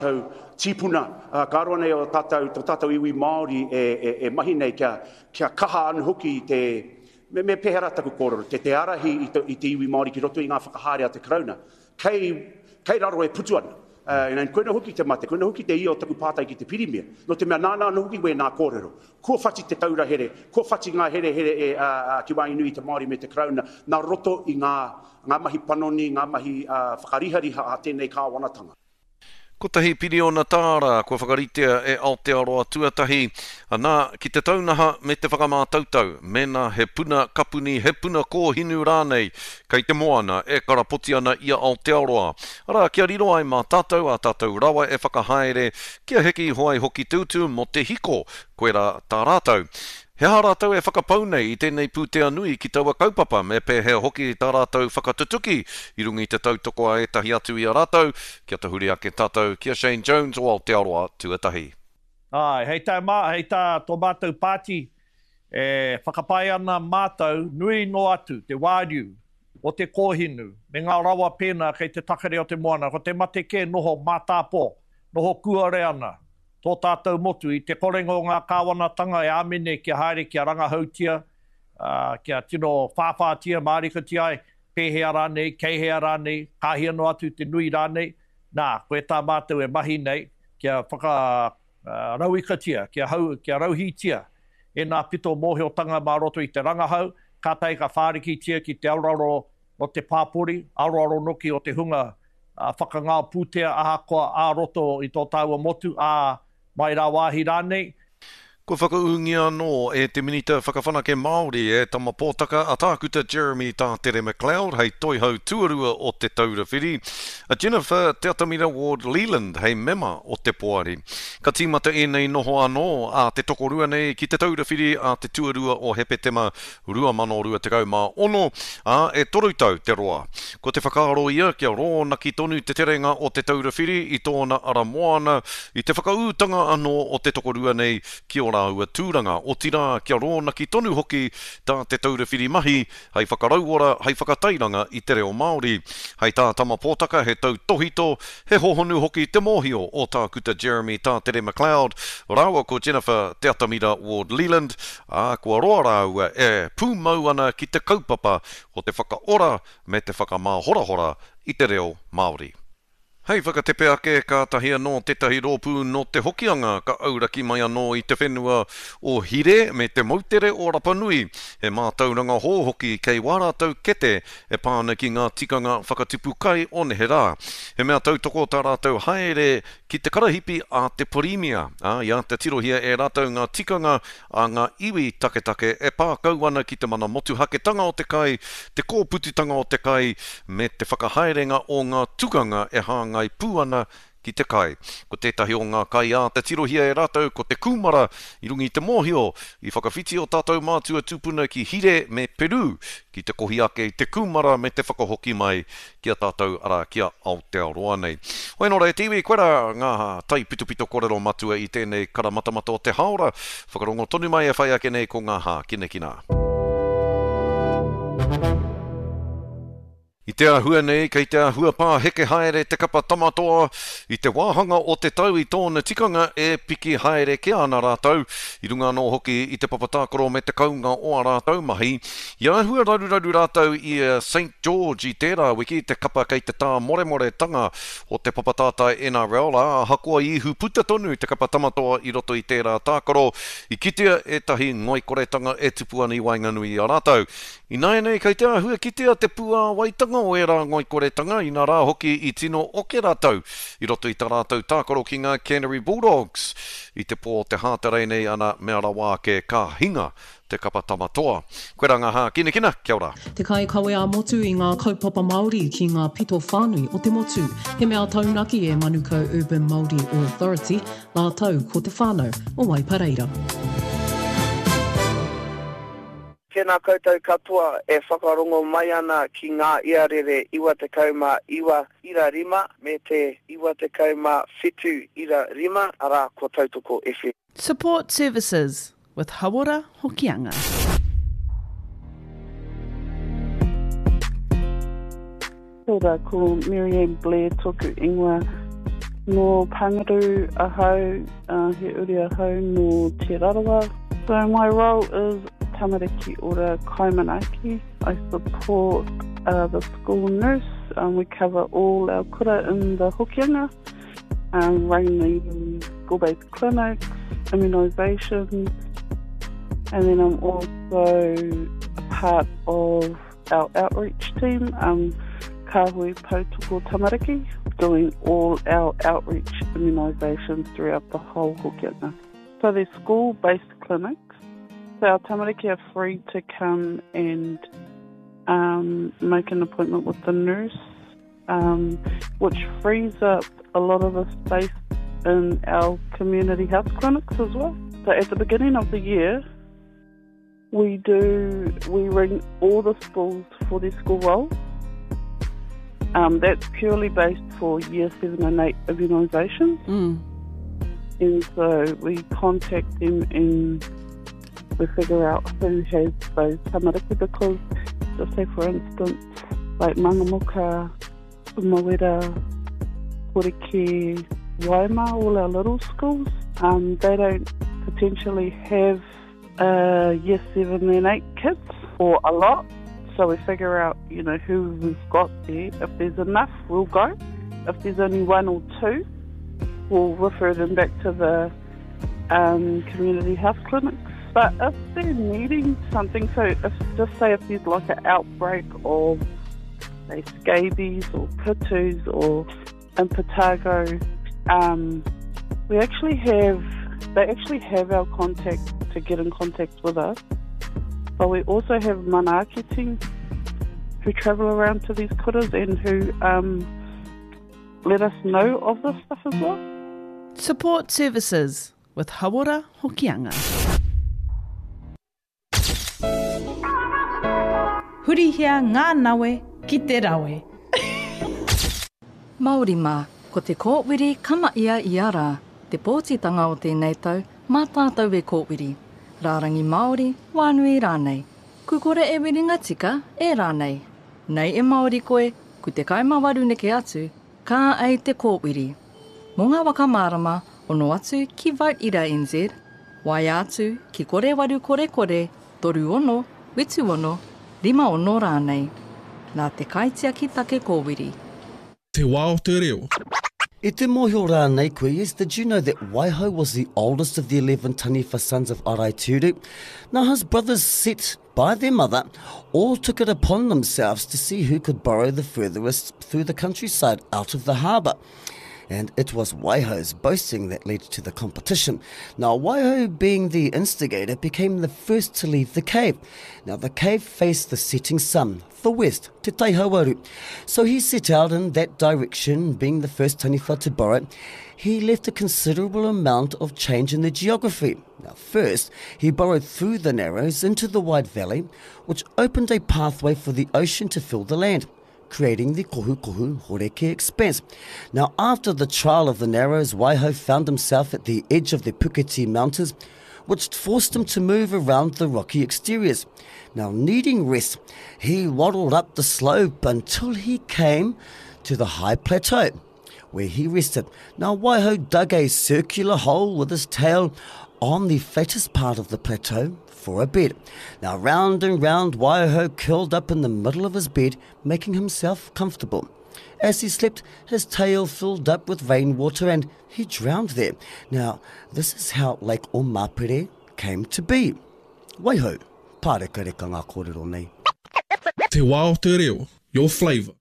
Tātou tīpuna, ā, ka roa nei o tātou, tō tātou iwi Māori e, e, e mahi nei kia, kia kaha anō hoki te, me, me pēhea rā taku kōrero, te, te ārahi i te, i te iwi Māori ki roto i ngā whakahaere a te Karauna. Kei, kei raro e putu ana. Uh, koina hoki te mate, koina hoki te ia o taku pātai ki te Pirimia. Nō te mea nāna anō hoki wēnā kōrero. Kua whati te taura here, kua whati ngā herehere e, uh, uh, ki waenganui i te Māori me te Karauna, nā roto i ngā, ngā mahi panoni, ngā mahi uh, whakarihariha a tēnei kāwanatanga. Kotahi piriona tāra kua whakaritea e Aotearoa Tuatahi, anā, ki te taunaha me te whakamātautau mēnā he puna kapuni, he puna kōhinu rānei kei te moana e karapoti ana i a Aotearoa. Arā, kia riro ai mā tātou ā tātou rawa e whakahaere, kia heke iho ai hoki te utu mō te hiko, koirā tā rātou. He aha rātou e whakapau nei i tēnei pūtea nui ki taua kaupapa, me pēhea hoki tā rātou whakatutuki i runga i te tautoko a ētahi atu i a rātou, kia tahuri ake tātou ki a Shane Jones o Aotearoa Tuatahi. Āe, hei tā mā, hei tā tō mātou pāti, e whakapae ana mātou nui noa atu te wāriu o te kōhinu me ngā rawa pēnā kei te takere o te moana, ko te mate kē noho mātāpō, noho kuare ana tō tātou motu i te korenga o ngā kāwanatanga e āmene kia haere kia rangahautia, ā, kia tino whāwhātia mārikatia ai, pēhea rānei, kei hea rānei, ka hia noa atu te nui rānei, nā, koe tā mātou e mahi nei, kia whakarauikatia, kia hau, kia rauhītia ēnā pito mōhiotanga mā roto i te rangahau, kātahi ka whārikitia ki te aroaro o te pāpori, aroaro noki o te hunga whakangao pūtea ahakoa ā-roto i tō tāua motu, ā, mai rāwāhi rānei. Kua whakaūngia anō e te Minita Whakawhanake Māori, e Tama Pōtaka, a Tākuta Jeremy Tātere MacLeod hei Toihau Tuarua o Te Taura Whiri, a Jennifer Te Atamira Ward Leland hei mema o te Poari. Ka tīmata ēnei noho anō a te tokorua nei ki Te Taura Whiri a te tuarua o Hepetema 2026, ā, e toru tau te roa. Ko te whakaaro ia kia rōnaki tonu te terenga o Te Taura Whiri i tōna ara moana, i te whakaūtanga anō o te tokorua nei ki ō rāua tūranga, otirā kia rōnaki tonu hoki tā Te Taura Whiri mahi hei whakarauora, hei whakatairanga i te reo Māori. Hei tā Tama Pōtaka he tautōhito, He hohonu hoki te mōhio o Tākuta Jeremy Tātere MacLeod rāua ko Jennifer Te Atamira Ward Leland, ā, kua roa rāua e pūmau ana ki te kaupapa o te whakaora me te whakamāhorahora i te reo Māori. Hei whakatepe ake, kātahi anō tētahi rōpū nō Te Hokianga ka auraki mai anō i te whenua o Hire me te moutere o Rapanui, he mātauranga hou hoki kei wā rātou kete e pā ana ki ngā tikanga whakatipu kai o neherā. He mea tautoko tā rātou haere ki te karahipi a te Pirimia, ā, i āta tirohia e rātou ngā tikanga a ngā iwi taketake e pā kau ana ki te mana motuhaketanga o te kai, te kōpututanga o te kai, me te whakahaerenga o ngā tukanga e hāngai pū ana ki te kai. Ko tētahi o ngā kai āta tirohia e rātou ko te kūmara, i runga i te mōhio, i whakawhiti ō tātou mātua tūpuna ki Hire me Peru ki te kohi ake i te kūmara me te whakahoki mai ki a tātou, arā, ki a Aotearoa nei. Hoi anō rā e te iwi, koirā ngā taipitopito kōrero matua i tēnei karamatamata o te hāora. Whakarongo tonu mai e whai ake nei ko ngā hākinakina. I te āhua nei, kei te āhua pāheke haere te kapa Tama Toa i te wāhanga o te tau i tōna tikanga e piki haere kē ana rātou, i runga anō hoki i te papa tākaro me te kounga o ā rātou mahi. I āhua raruraru rātou i a Saint George i tērā wiki, te kapa kei te tāmoremoretanga o te papa tātai NRL, ā, ahakoa i ihu puta tonu te kapa Tama Toa i roto i tērā tākaro, i kitea ētahi ngoikoretanga e tupu ana i waenganui i a rātou. Ināianei kei te āhua kitea te puāwaitanga o ērā ngoikoretanga, inā rā hoki i tino oke rātou i roto i tā rātou tākaro ki ngā Canterbury Bulldogs i te pō o te Hātarei nei ana mea rawa ake ka hinga te kapa Tama Toa. Koirā ngā hākinakina, kia ora. Te kaikawe ā-motu i ngā kaupapa Māori ki ngā pito whānui o te motu. He mea taunaki e Manukau Urban Māori Authority, rātou ko te whānau o Waipareira. Tēnā koutou katoa e whakarongo mai ana ki ngā iarere 99 ira rima me te 97 ira rima, arā, ko Tautoko FM. Support Services with Hauora Hokianga. Kia ora, ko Marianne Blair toku ingoa. Nō Panguru ahau, uh, he uri ahau nō Te Rarawa. So my role is Tamariki Ora Kaimanaki. I support uh, the school nurse. Um, we cover all our kura in the Hokianga, um, running school-based clinics, immunisations, and then I'm also a part of our outreach team, um, Kāhui Poutoko Tamariki, doing all our outreach immunisations throughout the whole Hokianga. So they're school-based clinics. So our tamariki are free to come and um, make an appointment with the nurse, um, which frees up a lot of the space in our community health clinics as well. So at the beginning of the year, we do we ring all the schools for their school roll. Um, that's purely based for year 7 and 8 immunisations. Mm. And so we contact them and we figure out who has those tamariki because, just say for instance, like Mangamuka, Mawera, Horeke, Waima, all our little schools, um, they don't potentially have uh, year 7 and 8 kids or a lot. So we figure out, you know, who we've got there. If there's enough, we'll go. If there's only one or two, we'll refer them back to the um, community health clinics. But if they're needing something, so if just say if there's like an outbreak of say scabies or pitus or impetigo, um, we actually have they actually have our contact to get in contact with us. But we also have manaaki team who travel around to these kuras and who um, let us know of this stuff as well. Support services with Hauora Hokianga. Hurihia ngā nawe ki te rawe. Māori mā, ko te kōwiri ka mahia ia rā. Te pōtitanga o tēnei tau, mā tātou e kōwiri. Rārangi Māori, wānui rānei. Ku kore e wiringa tika, e rānei. Nei e Māori koe, ku 18 neke atu, Ka ai te kōwiri. Mō ngā whakamārama, ono atu ki Vote Ira NZ, waea atu ki kore waru kore kore, 36, 76, 56 rānei. Nā te kaitiaki take kōwiri. Te wā o te reo. I te mōhio rānei koe, yes, did you know that Waihou was the oldest of the 11 taniwha sons of Araiteuru? Now his brothers set by their mother, all took it upon themselves to see who could borrow the furthest through the countryside out of the harbour. And it was Waihou's boasting that led to the competition. Now, Waihou, being the instigator, became the first to leave the cave. Now, the cave faced the setting sun, the west, Te Taihauaru. So he set out in that direction, being the first taniwha to borrow. He left a considerable amount of change in the geography. Now, first, he burrowed through the narrows into the wide valley, which opened a pathway for the ocean to fill the land, creating the Kohukohu Horeke expanse. Now, after the trial of the narrows, Waihou found himself at the edge of the Puketi Mountains, which forced him to move around the rocky exteriors. Now, needing rest, he waddled up the slope until he came to the high plateau where he rested. Now, Waihou dug a circular hole with his tail on the flattest part of the plateau for a bed. Now, round and round, Waihou curled up in the middle of his bed, making himself comfortable. As he slept, his tail filled up with rainwater and he drowned there. Now, this is how Lake Omapere came to be. Waiho, pārekareka ngā kōrero nei. Te wā o te reo, your flavour.